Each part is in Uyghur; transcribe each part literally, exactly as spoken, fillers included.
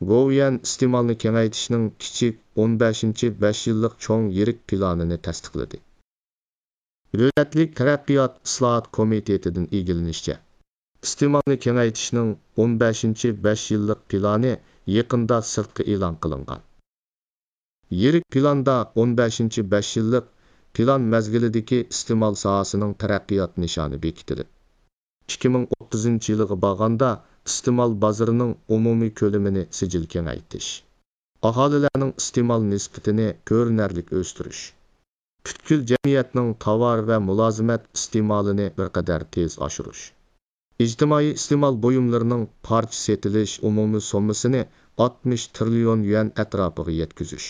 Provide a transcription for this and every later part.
گوۋۇيۈەن ئىستېمالنى كېڭەيتىشنىڭ كىچىك ئون بەشىنچى بەش يىللىق چوڭ يىرىك پىلانىنى تەستىقلىدى. دۆلەتلىك تەرەققىيات ئىسلاھات كومىتېتىدىن ئىگىلىنىشىچە، ئىستېمالنى كېڭەيتىشنىڭ ئون بەشىنچى بەش يىللىق پىلانى يېقىندا سىرتقا ئېلان قىلىنغان. يىرىك پىلاندا ئون بەشىنچى بەش يىللىق پىلان مەزگىلىدىكى ئىستېمال ساھەسىنىڭ تەرەققىيات نىشانى بېكىتىلىپ، ئىككى مىڭ ئوتتۇزىنچى يىلىغا بارغاندا ئىستېمال بازىرىنىڭ ئومۇمىي كۆلىمىنى سىجىل كېڭەيتىش، ئاھالىلەرنىڭ ئىستېمال نىسبىتىنى كۆرۈنەرلىك ئۆستۈرۈش، پۈتكۈل جەمئىيەتنىڭ تاۋار ۋە مۇلازىمەت ئىستېمالىنى بىر قەدەر تېز ئاشۇرۇش، ئىجتىمائىي ئىستېمال بۇيۇملىرىنىڭ پارچە سېتىلىش ئومۇمىي سوممىسىنى ئاتمىش تىرىليون يۈەن ئەتراپىغا يەتكۈزۈش،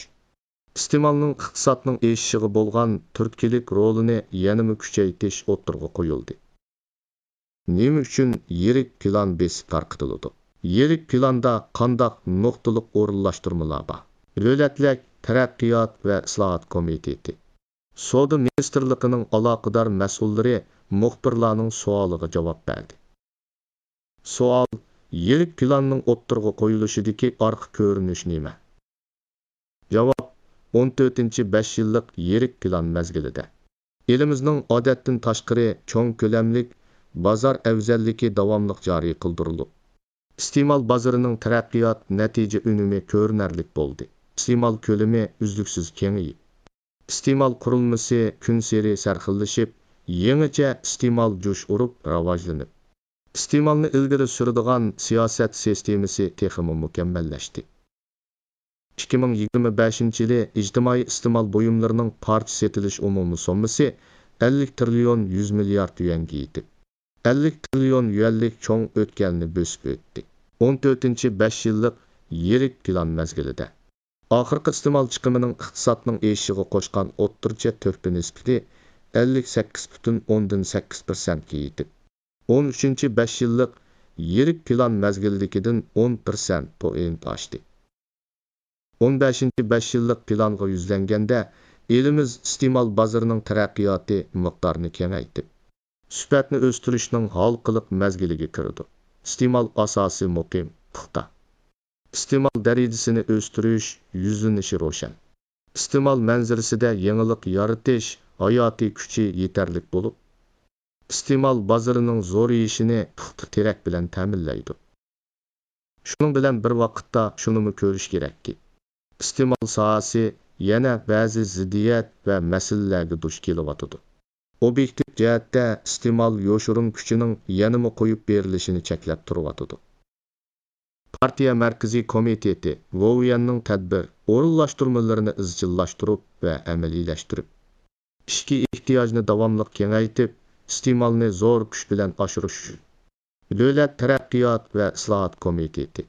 ئىستېمالنىڭ ئىقتىسادنىڭ ئېشىشىغا بولغان تۈرتكىلىك رولىنى يەنىمۇ كۈچەيتىش ئوتتۇرىغا قويۇلدى. نېمە ئۈچۈن يىرىك پىلان بېسىپ تارقىتىلىدۇ؟ يىرىك پىلاندا قانداق نۇقتىلىق ئورۇنلاشتۇرمىلار بار؟ دۆلەتلىك تەرەققىيات ۋە ئىسلاھات كومىتېتى، سودا مىنىستىرلىقىنىڭ ئالاقىدار مەسئۇللىرى مۇخبىرلارنىڭ سوئالىغا جاۋاب بەردى. سوئال: يىرىك پىلاننىڭ ئوتتۇرىغا قويۇلۇشىدىكى ئارقا كۆرۈنۈش نېمە؟ جاۋاب: ئون تۆتىنچى بەش يىللىق يىرىك پىلان مەزگىلىدە، ئېلىمىزنىڭ ئادەتتىن تاشقىرى چوڭ كۆلەملىك بازار ئەۋزەللىكى داۋاملىق جارى قىلدۇرۇلۇپ، ئىستېمال بازىرىنىڭ تەرەققىيات نەتىجە ئۈنۈمى كۆرۈنەرلىك بولدى. ئىستېمال كۆلىمى ئۈزلۈكسىز كېڭىيىپ، ئىستېمال قۇرۇلمىسى كۈنسېرى سەرخىللىشىپ، يېڭىچە ئىستېمال جۇش ئۇرۇپ راۋاجلىنىپ، ئىستېمالنى ئىلگىرى سۈرىدىغان سىياسەت سىستېمىسى تېخىمۇ مۇكەممەللەشتى. ئىككى مىڭ يىگىرمە بەشىنچى يىلى ئىجتىمائىي ئىستېمال بۇيۇملىرىنىڭ پارچە سېتىلىش ئومۇمىي سوممىسى ئەللىك تىرىليون يۈز مىليارد يۈەنگە يېتىپ، ئەللىك تىرىليون يۈەنلىك چوڭ ئۆتكەلنى بۆسۈپ ئۆتتى. ئون تۆتىنچى بەش يىللىق يىرىك پىلان مەزگىلىدە، ئاخىرقى ئىستېمال چىقىمىنىڭ ئىقتىسادنىڭ ئېشىشىغا قوشقان ئوتتۇرىچە تۆھپە نىسبىتى ئەللىك سەككىز پۈتۈن ئوندىن سەككىز پىرسەنتكە يېتىپ، ئون ئۈچىنچى بەش يىللىق يىرىك پىلان مەزگىلىدىكىدىن ئون پىرسەنت پوينت ئاشتى. ئون بەشىنچى بەش يىللىق پىلانغا يۈزلەنگەندە، ئېلىمىز ئىستېمال بازىرىنىڭ تەرەققىياتى مىقدارىنى كېڭەيتىپ، سۈپەتنى ئۆستۈرۈشنىڭ ھالقىلىق مەزگىلىگە كىرىدۇ. ئىستېمال ئاساسى مۇقىم، پۇختا. ئىستېمال دەرىجىسىنى ئۆستۈرۈش يۈزلىنىشى روشەن. ئىستېمال مەنزىرىسىدە يېڭىلىق يارىتىش ھاياتىي كۈچى يېتەرلىك بولۇپ، ئىستېمال بازىرىنىڭ زورىيىشىنى پۇختا تىرەك بىلەن تەمىنلەيدۇ. شۇنىڭ بىلەن بىر ۋاقىتتا شۇنىمۇ كۆرۈش كېرەككى، ئىستېمال ساھەسى يەنە بەزى زىددىيەت ۋە مەسىلىلەرگە دۇچ كېلىۋاتىدۇ. ئوبيېكتىپ جەھەتتە ئىستېمال يوشۇرۇن كۈچىنىڭ يەنىمۇ قويۇپ بېرىلىشىنى چەكلەپ تۇرۇۋاتىدۇ. پارتىيە مەركىزىي كومىتېتى گوۋۇيۈەننىڭ تەدبىر ئورۇنلاشتۇرمىلىرىنى ئىزچىللاشتۇرۇپ ۋە ئەمەلىيلەشتۈرۈپ، ئىچكى ئېھتىياجنى داۋاملىق كېڭەيتىپ، ئىستېمالنى زور كۈچ بىلەن ئاشۇرۇش ئۈچۈن، دۆلەت تەرەققىيات ۋە ئىسلاھات كومىتېتى،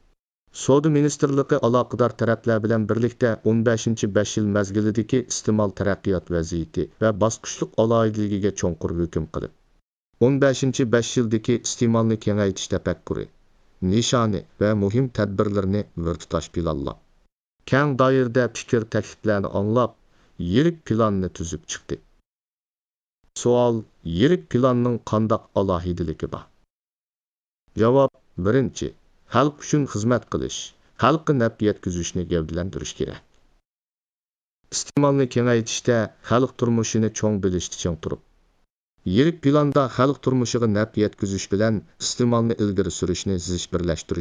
سودا مىنىستىرلىقى ئالاقىدار تەرەپلەر بىلەن بىرلىكتە ئون بەشىنچى بەش يىل مەزگىلىدىكى ئىستېمال تەرەققىيات ۋەزىيىتى ۋە باسقۇچلۇق ئالاھىدىلىكىگە چوڭقۇر ھۆكۈم قىلىپ، ئون بەشىنچى بەش يىلدىكى ئىستېمالنى كېڭەيتىش تەپەككۇرى، نىشانى ۋە مۇھىم تەدبىرلىرىنى بىر تۇتاش پىلانلاپ، كەڭ دائىرىدە پىكىر تەكلىپلەرنى ئاڭلاپ، يىرىك پىلاننى تۈزۈپ چىقتى. سوئال: يىرىك پىلاننىڭ قانداق ئالاھىدىلىكى بار؟ جاۋاب: بىرىنچى، خەلق ئۈچۈن خىزمەت قىلىش، خەلققە نەپ يەتكۈزۈشنى گەۋدىلەندۈرۈش كېرەك. ئىستېمالنى كېڭەيتىشتە خەلق تۇرمۇشىنى چوڭ بىلىشتە چىڭ تۇرۇپ، يىرىك پىلاندا خەلق تۇرمۇشىغا نەپ يەتكۈزۈش بىلەن ئىستېمالنى ئىلگىرى سۈرۈشنى زىچ بىرلەشتۈرۈش